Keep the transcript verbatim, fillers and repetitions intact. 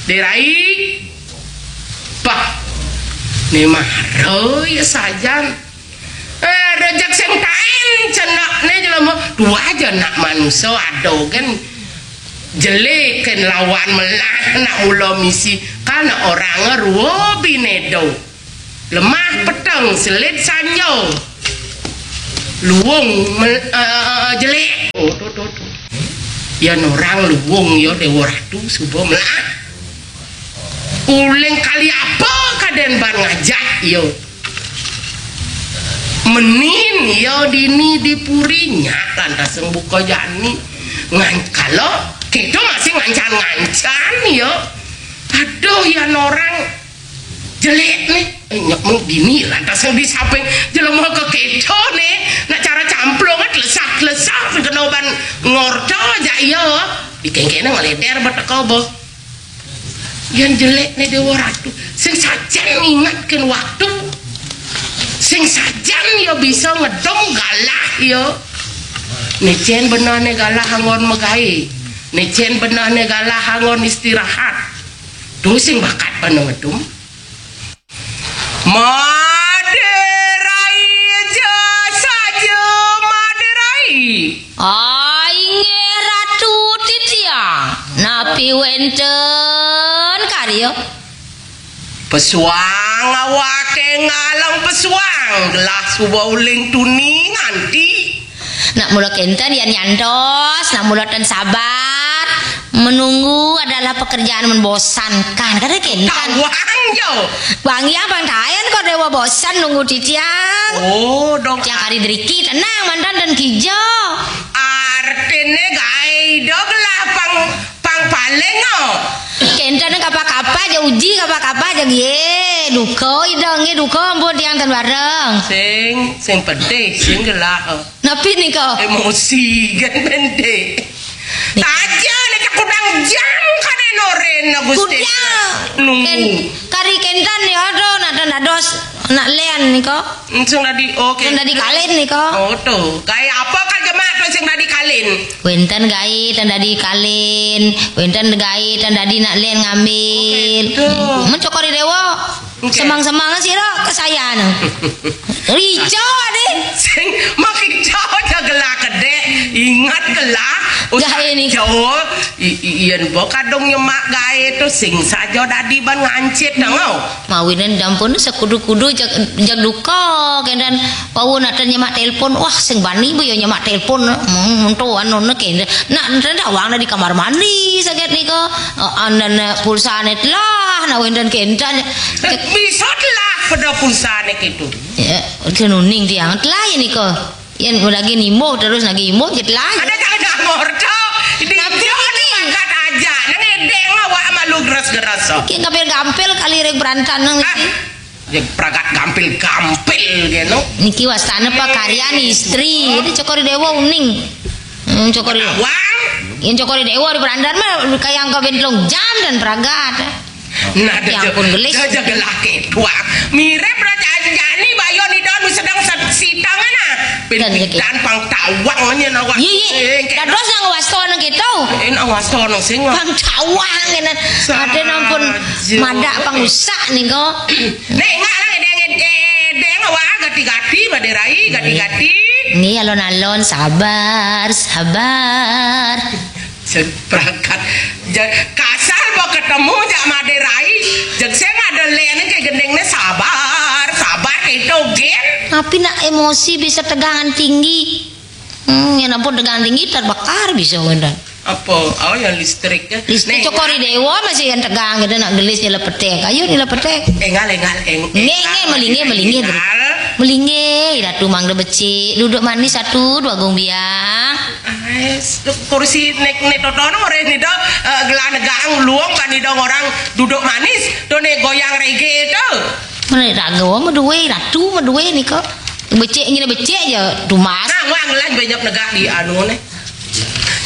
Derai. Pah. Ni mara ya sajan. Eh, rejek sing tain cenekne jelema. Dua aja nak manusa ada kan jelik kan lawan melah nak mula misi. Kan orang rua binedo. Lemah peteng, selit sanjung. Luung mel- eh, jelik. Oh, tu, tu, tu. Ya orang luung ya Dewa Ratu suba melah. Uling kali apa kaden ban ngajak ya? Menin ya dini di puri nya lantas buka jani. Ngan kalau kita masih ngancan-ngancan ya. Aduh ya orang jelik nih. Nyok mung dini lantas yang di samping jelema ke kita nih. Nak cara camplung kan lesah-lesah kena ban ngorta aja ya. Dikengkene ngeleder beteko boh. Yang jelek nih Dewa Ratu. Sing sajan ngingatkan waktu. Sing sajan ya bisa ngedong galah ya. Necen benar nih galah anggon megai. Necen benar nih galah anggon istirahat. Tuh sing bakat pada ngedum. Maderai aja saja Maderai. Ah, inggih Ratu titiang. Napi wenten karya? Pesuang awake ngalang pesuang gelah suba uling tuni nganti. Nak mula kenten yan nyantos, nak mula ten sabar. Menunggu adalah pekerjaan membosankan. Kata kenten. Tawang jo. Bang ya bang tayan kok dewa bosan nunggu titiang. Oh, dong. Tiang kari deriki tenang mantan dan kijo. Artine gae do gelah pang pang paling oh. Kenten kapa-kapa aja uji kapa-kapa aja ye. Duko idong ye duko ampun tiang ten bareng. Sing sing pedih sing gelah. Napi nika? Emosi kan pendek. Taja nika kudang jam kane noren Gusti. Kudang. Nunggu. Ken, kari kenten ya do nak dados nak len nika. Sing dadi oke. Sing dadi kalin nika. Oh tuh. Gawe apa kan jemak tuh sing dadi kalin? Wenten gawe ten dadi kalin, wenten gawe ten dadi nak len ngambil. Oke, tuh. Men cokori dewa. Oke. Semang-semang sira kesayan. Rico ade. Sing makin jauh aja gelah kedek. Ingat gelah. Gawe ni. Jauh. I- i- Iyan bo kadung nyemak gawe tu sing saja dadi ban ngancit dong. Mawinen dampun sekudu-kudu jag, jag duka kendan wau nak ten nyemak telepon. Wah sing bani bo ya nyemak telepon. Hmm, tu anu ne kendan. Nak ten dawang di kamar mandi saget nika. Eh, anan pulsane telah nak wenten kendan. Bisa telah pada pulsane gitu. Ya, uning tiang telah ya nika. Yen lagi nimbuh terus lagi imbuh je telah. Ada tak ada morto. Ini Tapi jauh ini. Angkat aja. Nang edeng awak malu geras-geras. Ki gampil-gampil kali rek berantan nang Ah, niki. Ya pragat gampil-gampil gitu. Niki wastane pakaryan istri. Ini cokori dewa uning. Hmm, cokori. Wang. Yen cokori dewa di berantan mah kayang ke bentlong jam dan pragat. Nah, ya ampun gelis. Jaga laki tuak. Mirip raja anjani bayo ni don sedang sitang ana. Pin pidan pang tawang nya nawa. Iya iya. Dados nang wasto nang kita. Eh nang wasto nang sing. Pang tawang ngene. Ade nampun madak pang usak nika. Nek ngak nang edeng edeng awak gati-gati maderai gati-gati. Ni alon-alon sabar sabar. Sing pragat. Kasar ba ketemu jak maderai. Jeg sing ada len ke gendingne sabar, sabar itu gen. Tapi nak emosi bisa tegangan tinggi. Hmm, ya ampun tegangan tinggi terbakar bisa wenda. Apa? Oh yang listrik ya. Listrik cokori dewa masih yang tegang gitu nak gelis nyelepete. Ayo nyelepete. Engal engal eng. Nge nge melinge melinge. Melinge, ratu mangga becik, duduk manis satu dua gong biang. Kursi nek nek totono ora ini do gelah negang luang kan idong orang duduk manis to nek goyang reggae to. Mana raga wa medue ratu medue nika. Becik nyene becik aja tumas. Nah, wang lah banyak negak di anu ne.